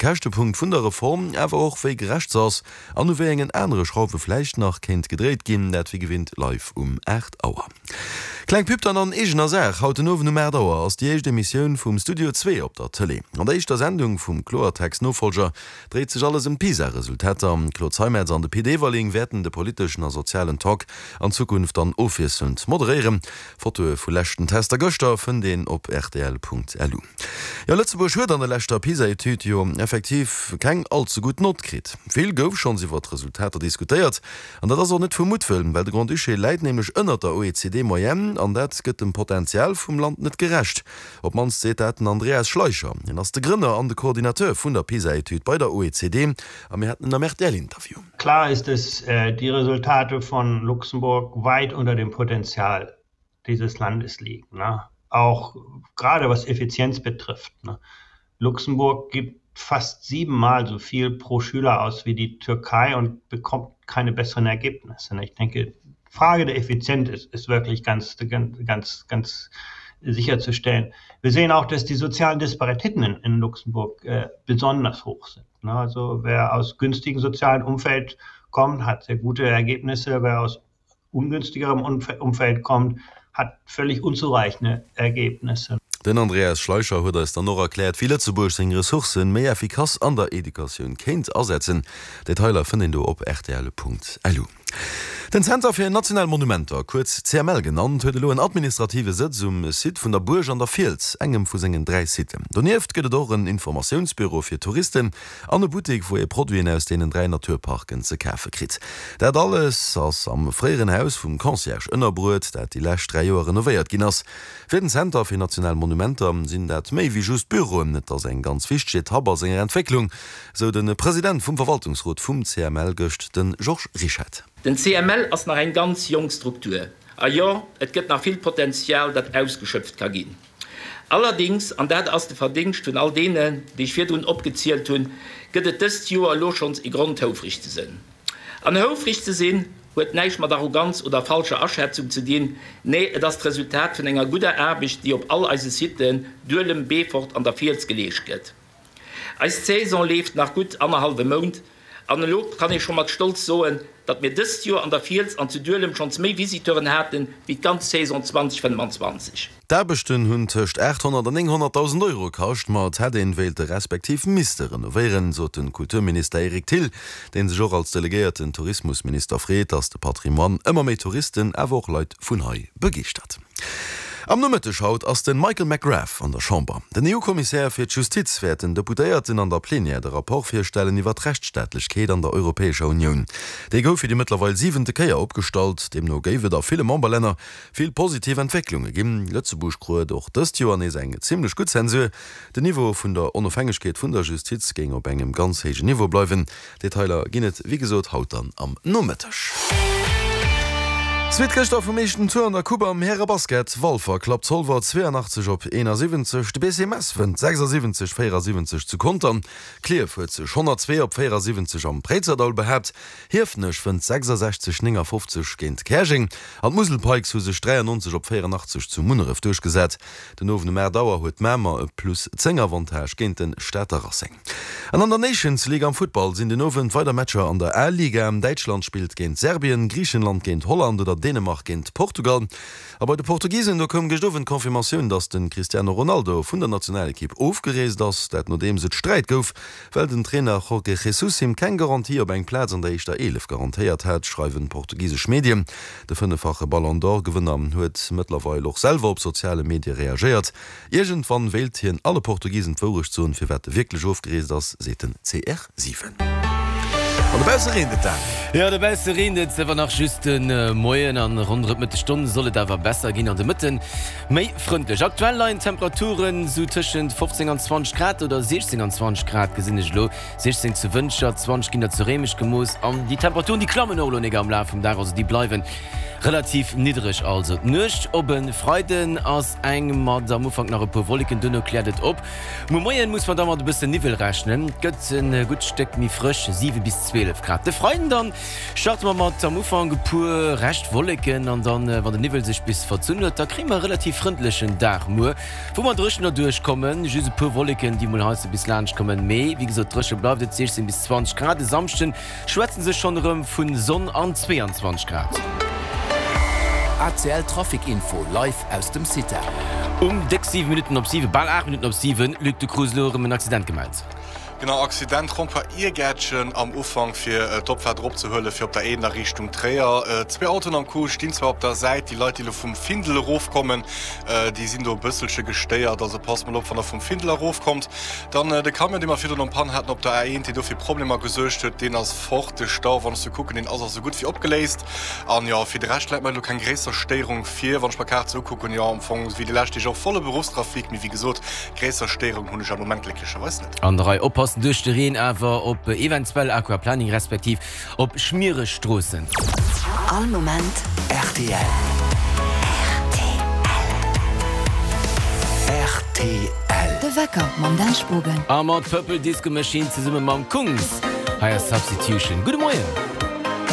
Käschtepunkt vun der Reform, awer och wéi gerecht se ass an u wéi engen anere Schrauwe vläicht nach kéint gedréit ginn, dat wéi gewinnt live um 8 Auer. Kleng Pub dann an eegener Saach, Haut den Owend um 8 Auer ass déi éischt Emissioun vum Studio Zwee op der Tëlee. An der éischter Sendung vum Kloertext-Nofollger dréit sech alles ëm d'PISA-Resultater. D'Claude Zeimetz an de Pit Everling wäerten de politeschen a sozialen Talk an Zukunft dann ofwiesselnd moderéieren. Fotoe vu leschten Tester gëschter fënnt een op rtl.lu. Jo, Lëtzebuerg huet an der leschter PISA-Etüd jo effektiv keng all ze gutt Nott kritt. Vill gouf schonns iwwer d'Resultater diskutéiert. An dat ass och net vu Muttwëll, well de Grand-Duché läit nämlech ënnert der OECD-Moyenne an dat gëtt dem Potenzial vum Land net gerecht. Op d'mannst seet dat den Andreas Schleicher. Hien ass de Grënner an de Coordinateur vun der PISA-Etüd bei der OECD a mir haten en am RTL-Interview. Klar ist, dass die Resultate von Luxemburg weit unter dem Potenzial dieses Landes liegen. Ne? Auch gerade was Effizienz betrifft. Ne? Luxemburg gibt fast siebenmal so viel pro Schüler aus wie die Türkei und bekommt keine besseren Ergebnisse. Ne? Ich denke, Frage der Effizienz ist, ist wirklich ganz, ganz, ganz sicherzustellen. Wir sehen auch, dass die sozialen Disparitäten in, in Luxemburg äh, besonders hoch sind. Ne? Also wer aus günstigem sozialen Umfeld kommt, hat sehr gute Ergebnisse. Wer aus ungünstigerem Umfeld kommt, hat völlig unzureichende Ergebnisse. Den Andreas Schleicher huet eis dann och erkläert, wéi Lëtzebuerg seng Ressourcen méi effikass an der Educatioun kéint asetzen. Detailer fënnt een do op rtl.lu. Den Zenter fir national Monumenter, kuerz CML genannt, huet elo en administrative Sëtz um Site vun der Buerg an der Fiels, engem vu sengen 3 Siten. Donieft gëtt et och en Informatiounsbüro fir Touristen an e Buttek, wou ee Produiten aus deenen 3 Naturparken ze kafe kritt. Dat alles ass am fréieren Haus vum Concierge ënnerbruet, dat déi lescht 3 Joer renovéiert ginn ass. Fir den Zenter fir national Monumenter sinn dat méi wéi just Büroen, et ass eng ganz wichteg Etapp a senger Entwécklung. Sou de President vum Verwaltungsrot vum CML gëscht, de Georges Rischette. Den CML ass nach eng ganz jonk Struktur. A jo, et gëtt nach vill Potenzial, dat ausgeschöpft ka ginn. Allerdings, an dat ass de Verdingscht vun all deenen, déi ech virdrun opgezielt hunn, gëtt et dëst Joer elo schonns e Grond, houfreg ze sënn. An houfreg ze sinn, huet näischt mat Arroganz oder falscher Aschätzung ze dinn, nee, et ass d'Resultat vun enger gudder Aarbecht, déi op all eise Siten, Duelem, Beefort an der Fiels, geleescht gëtt. Eis Saison leeft nach gutt annerhallwe Mount an elo kann ee scho mat Stolz soen, datt mir dëst Joer an der Fiels an zu Duelem schonns méi Visiteuren haten, wéi d'ganz Saison 2025. D'Aarbechten hunn tëscht 800 an 900.000 Euro kascht, ma et hätt een wéilte respektiv misste renovéieren, sot de Kulturminister Eric Thill, dee sech och als delegéierten Tourismusminister freet, datt de Patrimoine ëmmer méi Touristen, awer och Leit vun hei begeeschtert. Am Nomëtteg haut ass de Michael McGrath an der Chamber. Den EU-Kommissär fir d'Justiz wäert den Deputéierten an der Plenière de Rapport virstellen iwwer d'Rechtsstaatlechkeet an der Europäescher Unioun. Dee gouf fir déi mëttlerweil siwente Kéier opgestallt. Deemno géif et a ville Memberlänner vill positiv Entwécklunge ginn. Lëtzebuerg kruet och dëst Joer nees eng zimmlech gutt Zensur. Den Niveau vun der Onofhängegkeet vun der Justiz géing op engem ganz héijen Niveau bleiwen. Detailer ginn et wéi gesot haut dann am Nomëtteg. Suite gëschter vum éischten Tour an der Coupe am Härebasket, Walfer klappt Zolwer 82 op 71, de BC Mess wënnt 76, 74 zu Contern, Klierf huet sech 102 op 74 am Préizerdaul behaapt, Hiefenech wënnt 66, 59 géint Käerjeng an d'Musel Pikes hu sech 93 op 84 zu Munneref duerchgesat. Den Owend um 8 Auer huet Mamer e plus 10 Avantage géint de Stater Racing. An an der Nations League am Futtball sinn den Owend weider Matcher an der A-Liga. Däitschland spillt géint Serbien, Griichenland géint Holland oder Dänemark géint Portugal. A bei de Portugisen, do koum gëscht Owend d'Confirmatioun, datt de Cristiano Ronaldo vun der Nationalekipp ofgereest ass. Dat nodeems et Sträit gouf, well den Trainer Jorge Jesus him keng Garantie op eng Plaz an der éischter 11 garantéiert hat, schreiwen portugisesch Medien. De fënneffache Ballon d'Or-Gewënner huet mëttlerweil och selwer op soziale Medie reagéiert. Iergendwann wéilt hien alle Portugisen d'Wourecht soen, firwat e wierklech ofgereest ass, seet den CR7. An dobausse reent et dan. Jo, dobausse reent et awer nach just de Moien an ronderëm d'Mëttesstonn soll et awer besser ginn an de Mëtte méi frëndlech. Aktuell leien d'Temperaturen sou tëschent 15 an 20 Grad oder 16 an 20 Grad gesinn ech elo. 16 zu Wëntger, 20 ginn der zu Réimech gemooss an déi Temperaturen déi klammen och elo nek am Laf vum Dag, also déi bleiwen relativ niddereg. Also d'Nuecht op e Freiden ass eng mat am Ufank nach e puer Wolleken, duerno kläert et op. Muer Moien muss mer da mat e bësse Niwwel rechnen, et gëtt e gutt Stéck méi frësch, 7 bis 12. 12 Grad. De Freiden dann starte mer mat am Ufank e puer Rescht Wolleken an dann, wann de Niwwel sech bis verzunn huet, da kréie mer e relativ frëndlechen Dag muer, wou mer dréchen derduerch kommen. Just e puer Wolleken, déi mol heiansdo bis laanscht kommen, mee wéi gesot dréche bleift et, 16 bis 20 Grad. E Samschden schwätze se schonn erëm vu Sonn an 22 Grad. ACL Trafic Info live aus dem CITA. Um déck 7 Minutten op 7, bal 8 Minutten op 7, Luc, du krus elo erëm en Accident gemellt. Genau, Accident Rond-point Iergäertchen am Ufank fir d'Opfaart eropzehuelen fir op der Een a Richtung Tréier. Zwee Autoen am Coup stinn zwar op der Säit, déi Leit déi elo vum Findel erofkommen, déi sinn do e bësselche gestéiert, also passt mol op wann der vum Findel erofkommt. Dann de Camion dee mer virdrun en Panne haten op der A1, deen do fir Problemer gesuergt huet, deen ass fort. De Stau, wann ech sou kucken, deen ass och sou gutt wéi opgeléist. An jo, fir de Rescht läit mer elo keng gréisser Stéierung vir. Wann ech mer d'Kaart sou ukucken, jo am Fong wéi déi lescht Deeg och volle Beruffstrafic, mee wéi gesot, gréisser Stéierung hunn ech am Moment glécklecherweis net. An der Rei oppassen duerch de Reen awer op eventuell Aquaplaning respektiv op schmiereg Stroossen. All Moment rtl. Rtl. De Wecker mam Dan Spogen. A mat Purple Disco Machine zesumme mam Kungs. Hei ass Substitution. Gudde Moien.